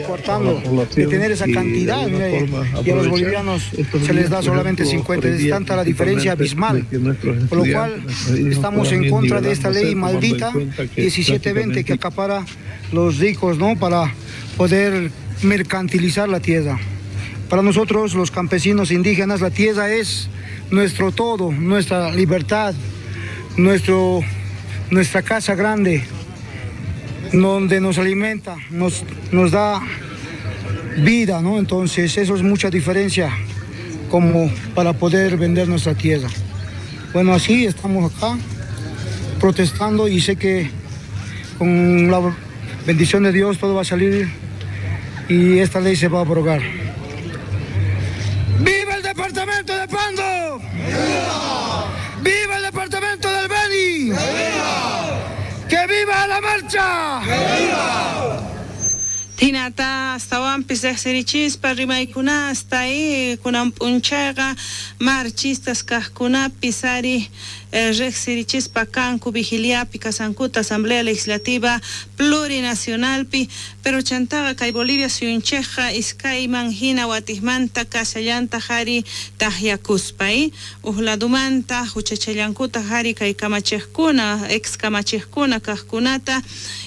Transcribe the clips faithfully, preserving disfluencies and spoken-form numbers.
Coartando de tener esa cantidad, y a los bolivianos se les da solamente cincuenta, es tanta la diferencia abismal, por lo cual estamos en contra de esta ley maldita diecisiete veinte que acapara los ricos, ¿no?, para poder mercantilizar la tierra. Para nosotros los campesinos indígenas la tierra es nuestro todo, nuestra libertad, nuestro, nuestra casa grande, donde nos alimenta, nos, nos da vida, ¿no? Entonces eso es mucha diferencia como para poder vender nuestra tierra. Bueno, así estamos acá protestando y sé que con la bendición de Dios todo va a salir y esta ley se va a abrogar. ¡Viva el departamento de Pando! ¡Viva! ¡Viva el departamento del Beni! ¡Viva! ¡Que viva la marcha! ¡Que viva! Hinata astawanpis riqsirichispa rimaykunasta y kunan p'unchayqa marchistas kaqkunapis ari riqsirichispa kanku vigiliapi kasankuta Asamblea Legislativa Plurinacionalpi, pero chantaqa kay Bolivia suyunchikqa iskayman hina watiqmanta kasallantaq ari taqyakuspa uj ladumanta huchachallankuta ari kay kamachiqkuna ex kamachiqkuna kaqkunata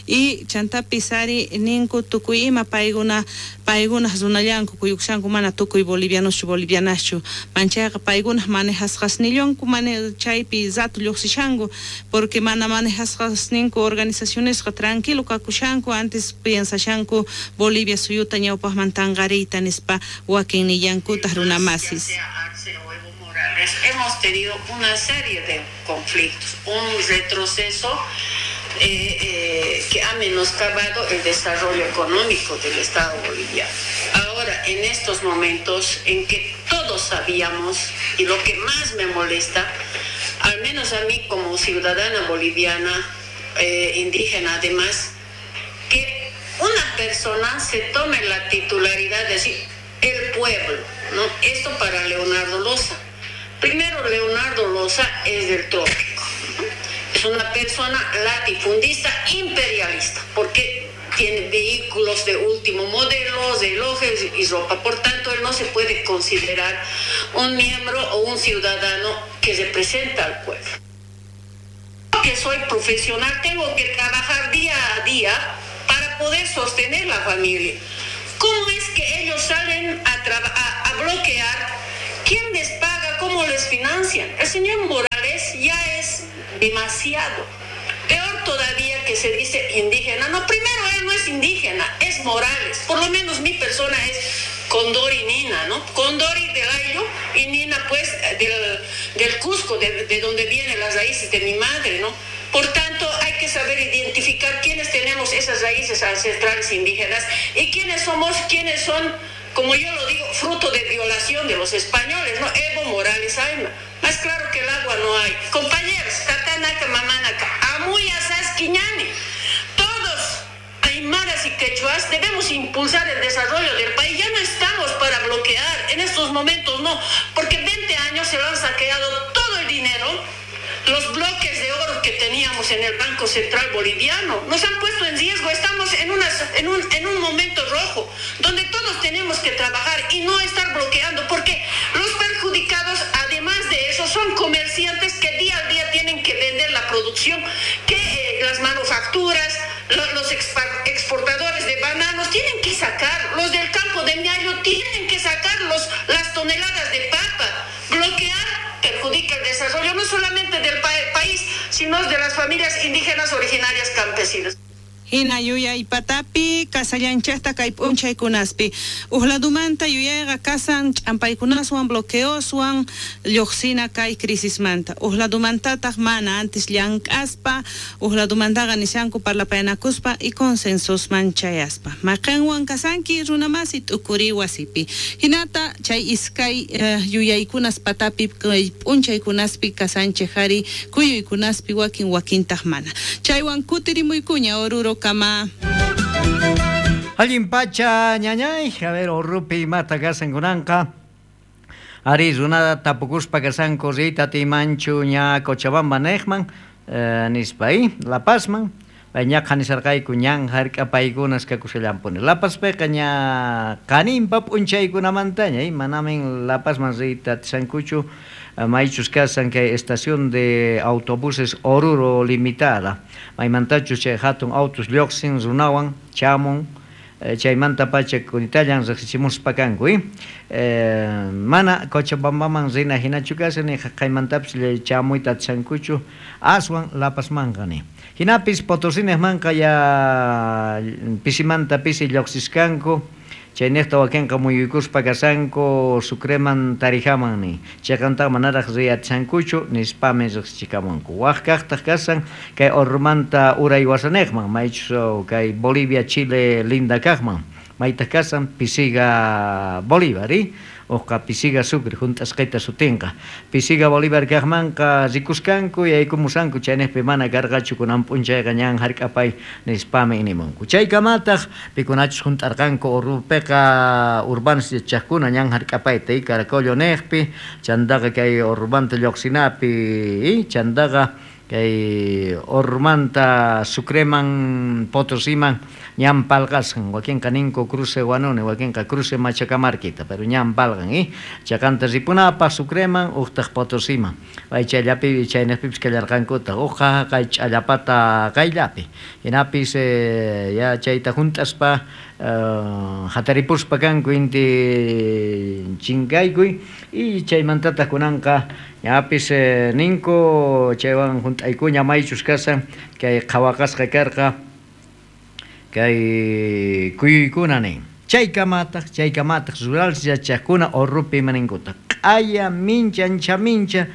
y chantapis ari ninku tukuy ima paykuna paykunaq runallanku kuyukushanku mana tukuy bolivianoschu bolivianaschu manchayqa paykunaq manejasqasnillanku mane chaypi rato lluqsishanku porque mana manejasqasninku organizacionesqa tranquilo kakushanku antes piensashanku Bolivia suyuta ñawpaqman tanqariyta nispa wakin nillankutaq runamasis. Hemos tenido una serie de conflictos, un retroceso eh, eh, que ha menoscabado el desarrollo económico del Estado boliviano. Ahora, en estos momentos en que todos sabíamos, y lo que más me molesta, al menos a mí como ciudadana boliviana, eh, indígena además, que una persona se tome la titularidad de decir el pueblo, ¿no? Esto para Leonardo Loza. Primero, Leonardo Loza es del trópico, ¿no? Es una persona latifundista imperialista, porque tiene vehículos de último modelo, relojes y ropa. Por tanto, él no se puede considerar un miembro o un ciudadano que representa al pueblo. Que soy profesional, tengo que trabajar día a día para poder sostener la familia. ¿Cómo es que ellos salen a, a, a bloquear? ¿Quién les paga? ¿Cómo les financian? El señor Morales ya es demasiado. Peor todavía que se dice indígena. No, primero él no es indígena, es Morales. Por lo menos mi persona es Condori Nina, ¿no? Condori del Ayllu y Nina, pues, del, del Cusco, de, de donde vienen las raíces de mi madre, ¿no? Por tanto, hay que saber identificar quiénes tenemos esas raíces ancestrales indígenas y quiénes somos, quiénes son, como yo lo digo, fruto de violación de los españoles, ¿no? Evo Morales Ayma. Más claro que el agua no hay. Compañeros, tatanaka, mamanaka, amuya, sasquiñani. Todos, aymaras y quechuas, debemos impulsar el desarrollo del país. Ya no estamos para bloquear, en estos momentos no, porque veinte años se lo han saqueado todo el dinero, los bloques de oro que teníamos en el Banco Central Boliviano, nos han puesto en riesgo, estamos en, una, en, un, en un momento rojo, donde todos tenemos que trabajar y no estar bloqueando, porque los perjudicados, además de eso, son comerciantes que día a día tienen que vender la producción, que eh, las manufacturas, lo, los exportadores de bananos tienen que sacar, los del campo de Miayo tienen que sacar los, las toneladas de papa. Bloquear perjudica el desarrollo no solamente del pa- país, sino de las familias indígenas originarias campesinas. Hina yuyay patapi kasallanchaqta kay p'unchaykunaspi uj ladumanta yuyayqa kasan ch'ampaykunaswan bloqueoswan lluqsina kay crisismanta uj ladumantataq mana antes llank'aspa uj ladumantaqa nishanku parlapayanakuspa y consensosman chayaspa maqanwan kasanki runamasi t'ukuri wasipi hinata chay iskay uh, yuyaykunas patapi kay p'unchaykunaspi kasanchej ari kuyuykunaspi wakin wakintaq mana chaywan kutirimuykuña Oruro kama. Allin pacha ñañay, a ver, Orrupi mata kasan kunanqa. Ari runada tapukuspa kasanku rita timanchu ña Cochabamba nejman, eh, nispa ahí, La Pazman, Ñaqa nisarqayku ñan hark'apaykunas kakushallampuni. La Pazpiqa ña qaninpa p'unchaykunamantaña, manamin La Pazman riyta atishankuchu, maychus kasan kay estación de autobuses Oruro Limitada, maymantachus chay hatun autos lluqsin runawan chamun, chaymanta pacha kunitallan riqsichimuspa kanku, eh, mana Cochabambaman rina hinachu kasan ni qaymantapis chamuyta atishankuchu aswan La Pazmanqa ni. Hinapis Potosímanqa ya pisimanta pisi lluqsiskanku, chayniqta wakinqa muyuykuspa kasanku Sucreman Tarijaman ni. Chayqantaqa manaraq riy atishankuchu nispami riqsichikamunku. Waq kaqtaq kasan kay Orurumanta uray wasaniqman, maychus kay Bolivia Chile linda kaqman, maytaq kasan Pisiga Bolívar, uqa Pisiga Sucre junt'asqayta sutinqa. Pisiga Bolívar kaqmanqa rikuskanku yaykumusanku chayniqpi mana karqachu kunan p'unchayqa ñan hark'apay nispami nimunku. Chaykamataq pikunachus junt'arqanku Orurupiqa urbanos yachaqkuna ñan hark'apayta Caracollo niqpi, chantaqa kay Orurumanta lluqsinapi, chantaqa kay Orurumanta Sucreman Potosiman ñan palqasqan, wakinqa ninku cruce Huanuni, wakinqa cruce Machacamarquita, pero ñan palqan, chaqanta ripunapaq Sucreman uqtaq Potosiman, pay chayllapi chayniqpipis kallarqankutaq, uqa kay ch'allapata qayllapi, hinapis ya chayta junt'aspa hataripuspa kanku inti chinkaykuy y chaymantataq kunanqa ñapis ninku chaywan junt'aykuña maychus kasan kay qhawaqasqa karqa kay kuyuykuna nin. Chaykamataq chaykamataq rural yachaqkuna Orurupi imaninkuta q'aya mincha ancha mincha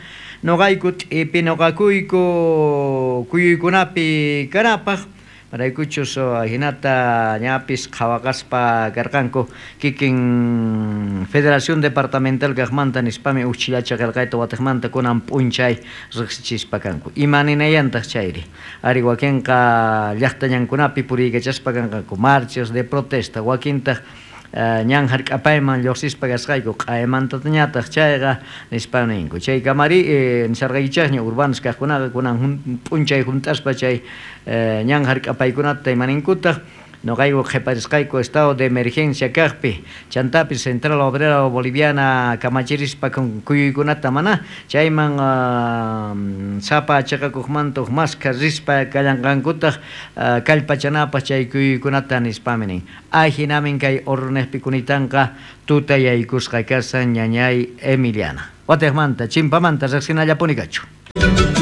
nuqayku t'ipi nuqakuyku kuyuykunapi kanapaq maraykuchus hinata ñapis qhawaqaspa karqanku kikin Federación Departamental kaqmanta nispami uqchillacha qillqayta watiqmanta kunan p'unchay riqsichispa kanku. Ima ninayantaq chayri? Ari wakinqa llaqta ñankunapi puriykachaspa kanqanku marchas de protesta, wakintaq ñan hark'apayman lluqsispa kasqayku q'aymantatañataq chayqa nispa ninku. Chaykamari nisarqaykichaqña urbanos kaqkunaqa kunan p'unchay junt'aspa chay ñan hark'apaykunata imaninkutaq nuqayku qhiparisqayku estado de emergencia kaqpi chantapis Central Obrera Boliviana kamachirispa kuyuykunata mana chayman sapa chaqakuqmanta uq maskha rispa kallanqankutaq kallpachanapaq chay kuyuykunata nispami nin. Ajinamin kay Oruruniqpi kunitanqa tutayaykusqa kasan ñañay Emiliana. Watiqmanta chimpamanta riqsinallapuni kachu.